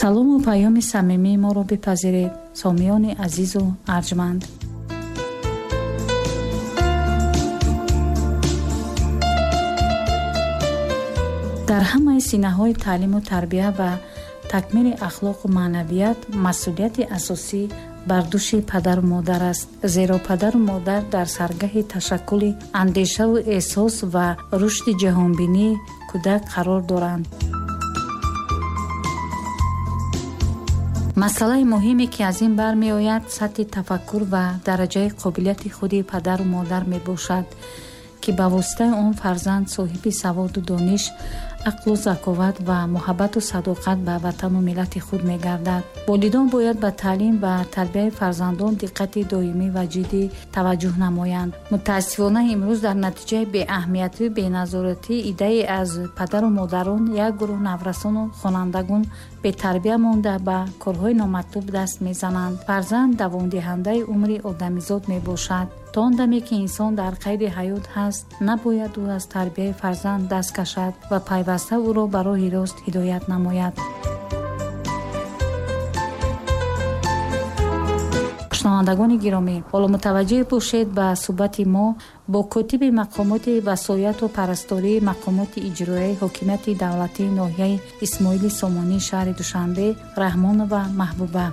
Салому паёми самимии моро бипазиред, сомиёни азизу арҷманд. Дар ҳамаи синаҳои таълиму тарбия ва такмили ахлоқу маънавият масъулияти асосӣ бар дӯши падару модар аст, зеро падару модар дар саргаҳи ташаккули андешаву эҳсос ва рушди ҷаҳонбинии кӯдак қарор доранд. Масъалаи муҳиме, ки аз ин бармеояд, сатҳи тафаккур ва дараҷаи қобилияти худи падару модар мебошад, ки ба воситаи он фарзанд соҳиби саводу дониш, ақлу заковат ва муҳаббату садоқат ба ватану миллати худ мегардад. Волидон бояд ба таълим ва тарбияи фарзандон диққати доимӣ ва ҷиддӣ таваҷҷӯҳ намоянд. Мутаассифона, имрӯз дар натиҷаи беаҳамиятию беназоратӣ иддаи аз падару модарон як гурӯҳ наврасону хонандагон бетарбия монда ба корҳои номатлуб даст мезананд. Фарзанд давомдиҳандаи умри одамизод мебошад. То он даме ки инсон дар қайди ҳаёт ҳаст, набояд ӯ аз тарбияи фарзанд даст кашад ва пайваста ӯро ба роҳи рост ҳидоят намояд. Шунавандагони гиромӣ, ҳоло мутаваҷҷеҳ бошед ба суҳбати мо бо котиби мақомоти васояту парастории мақомоти иҷроияи ҳокимияти давлатии ноҳияи Исмоили Сомонии шаҳри Душанбе Раҳмонова Маҳбуба.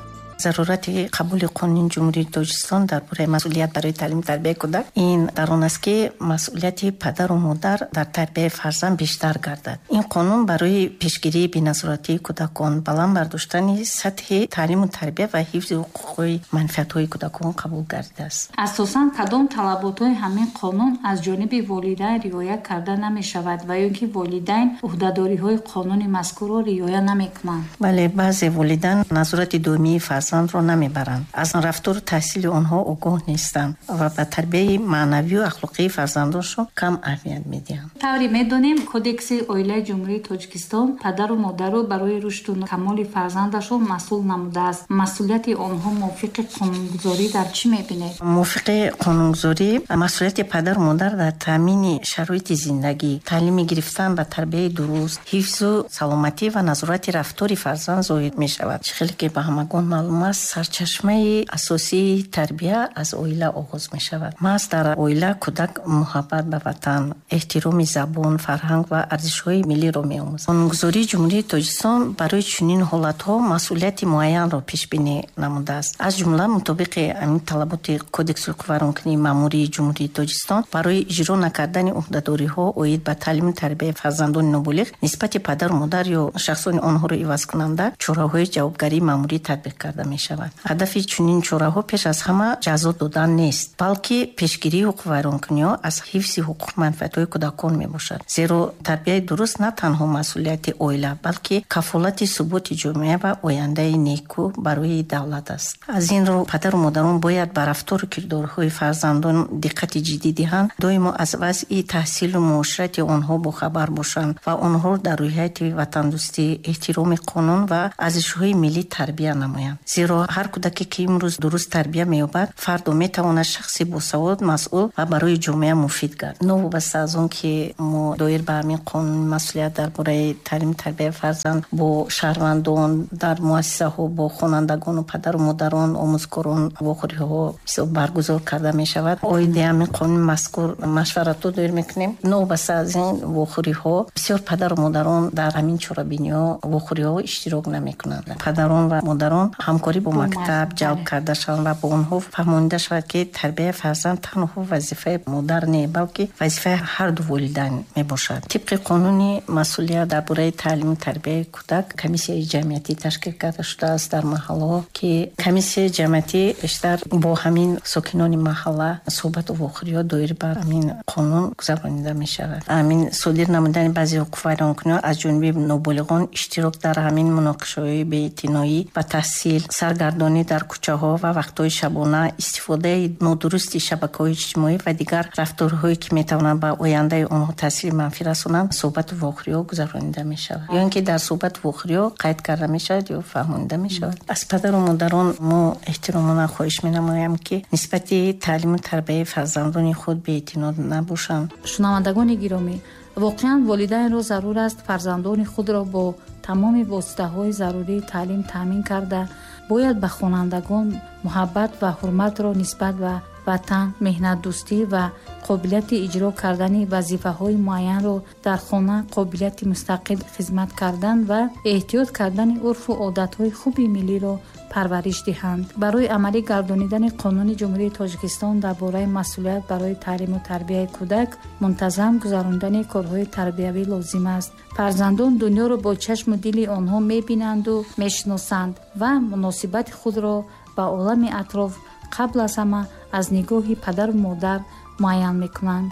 Зарурати қабули қонуни Ҷумҳурии Тоҷикистон дар бораи масъулият барои таълиму тарбияи кӯдак ин дар он аст, ки масъулияти падару модар дар тарбияи фарзанд бештар гардад. Ин қонун барои пешгирии беназоратии кӯдакон, баланд бардоштани сатҳи таълиму тарбия ва ҳифзи ҳуқуқҳои манфиатҳои кӯдакон қабул гардидааст. Асосан кадом талаботҳои ҳамин қонун аз ҷониби волидайн риоя карда намешавад ва ё ки волидайн ӯҳдадориҳои қонуни мазкурро риоя намекунанд? Бале, баъзе волидайн назорати доимии фарзандро намебаранд, аз рафтору таҳсили онҳо огоҳ нестанд ва ба тарбияи маънавию ахлоқии фарзандоншон кам аҳамият медиҳанд. Тавре медонем, Кодекси оилаи Ҷумҳурии Тоҷикистон падару модарро барои рушду камоли фарзандашон масъул намудааст. Масъулияти онҳо мувофиқи қонунгузорӣ дар чӣ мебинед? Мувофиқи қонунгузорӣ масъулияти падару модар дар таъмини шароити зиндагӣ, таълими гирифтан ба тарбияи дуруст, ҳифзу саломатӣ ва назорати рафтори фарзанд зоҳир мешавад. Чӣ хеле ки ба ҳамагон маълум аст, сарчашмаи асосии тарбия аз оила оғоз мешавад. Маҳз дар оила кӯдак муҳаббат ба ватан, эҳтироми забон, фарҳанг ва арзишҳои миллиро меомӯзад. Қонунгузории Ҷумҳурии Тоҷикистон барои чунин ҳолатҳо масъулияти муайянро пешбинӣ намудааст. Аз ҷумла мутобиқи ҳамин талаботи Кодекси ҳуқуқвайронкунии маъмурии Ҷумҳурии Тоҷикистон барои иҷро накардани ӯҳдадориҳо оид ба таълиму тарбияи фарзандони ноболиғ нисбати падару модар ё шахсони онҳоро ивазкунанда чораҳои ҷавобгарии маъмурӣ татбиқ карда мешавад. Ҳадафи чунин чораҳо пеш аз ҳама ҷазо додан нест, балки пешгирии ҳуқуқвайронкуниҳо аз ҳифзи ҳуқуқ манфиатҳои кӯдакон мебошад. Зеро тарбияи дуруст на танҳо масъулияти оила, балки кафолати суботи ҷомеа ва ояндаи неку барои давлат аст. Аз ин рӯ падару модарон бояд ба рафтору кирдорҳои фарзандон диққати ҷиддӣ диҳанд, доимо аз вазъи таҳсилу муоширати онҳо бохабар бошанд ва онҳоро дар рӯҳияти ватандӯстӣ, эҳтироми қонун ва арзишҳои миллӣ тарбия намоянд. Зеро ҳар кӯдаке ки имрӯз дуруст тарбия меёбад, фардо метавонад шахси босавод, масъул ва барои ҷомеа муфид гардад. Новобаста аз он ки мо доир ба ҳамин қонуни масъулият дар бораи таълиму тарбияи фарзанд бо шаҳрвандон, дар муассисаҳо бо хонандагону падару модарон, омӯзгорон вохӯриҳо баргузор карда мешавад, оиди ҳамин қонуни мазкур машваратҳо доир мекунем. Новобаста аз ин вохӯриҳо бисёр падару модарон дар ҳамин чорабиниҳо вохӯриҳо иштирок намекунанд. Падарон ва модарон ҳамкорӣ бо мактаб ҷалб карда шаванд ва бо онҳо фаҳмонида шавад, ки тарбияи фарзанд танҳо вазифаи модар не, балки вазифаи ҳар ду волидайн мебошад. Тибқи қонуни масъулият дар бораи таълиму тарбияи кӯдак комиссияи ҷамъиятӣ ташкил карда шудааст дар маҳаллаҳо, ки комиссияи ҷамъиятӣ бештар бо ҳамин сокинони маҳалла суҳбату вохӯриҳо доир ба ҳамин қонун гузаронида мешавад. Ҳамин содир намудани баъзе ҳуқуқвайронкуниҳо аз ҷониби ноболиғон, иштирок дар ҳамин муноқишаҳои беэътиноӣ ба таҳсил, саргардонӣ дар кӯчаҳо ва вақтҳои шабона, истифодаи нодурусти шабакаҳои иҷтимоӣ ва дигар рафторҳое ки метавонанд ба ояндаи онҳо таъсири манфӣ расонанд, суҳбату вохӯриҳо гузаронида мешавад. Ё ин ки дар суҳбату вохӯриҳо қайд карда мешавад ё фаҳмонида мешавад. Аз падару модарон мо эҳтиромона хоҳиш менамоям, ки нисбати таълиму тарбияи фарзандони худ беэътино набошанд. Шунавандагони гиромӣ, Воқеан, волидайнро зарур аст фарзандони худро бо тамоми воситаҳои зарурии таълим таъмин карда, бояд ба хонандагон муҳаббат ва ҳурматро нисбат ба ватан, меҳнатдӯстӣ ва қобилияти иҷро кардани вазифаҳои муайянро дар хона, қобилияти мустақил хизмат кардан ва эҳтиёт кардани урфу одатҳои хуби миллиро парвариш диҳанд. Барои амалӣ гардонидани Қонуни Ҷумҳурии Тоҷикистон дар бораи масъулият барои таълиму тарбияи кӯдак мунтазам гузарондани корҳои тарбиявӣ лозим аст. Фарзандон дунёро бо чашму дили онҳо мебинанду мешиносанд ва муносибати худро ба олами атроф қабл аз ҳама аз нигоҳи падару модар муайян мекунанд.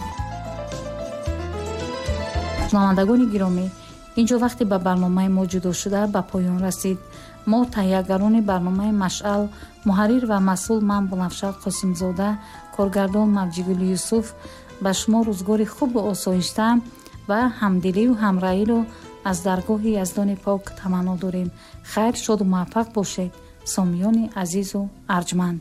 Шунавандагони гиромӣ, инҷо вақте ба барномаи мо ҷудо шуда ба поён расид. Мо, таҳиягарони барномаи «Машъал», муҳаррир ва масъул ман, Бунафша Қосимзода, коргардон Мавҷигули Юсуф, ба шумо рӯзгори хубу осоишта ва ҳамдилию ҳамраҳиро аз даргоҳи Яздони пок таманно дорем. Хайр, шоду муваффақ бошед, сомиёни азизу арҷманд.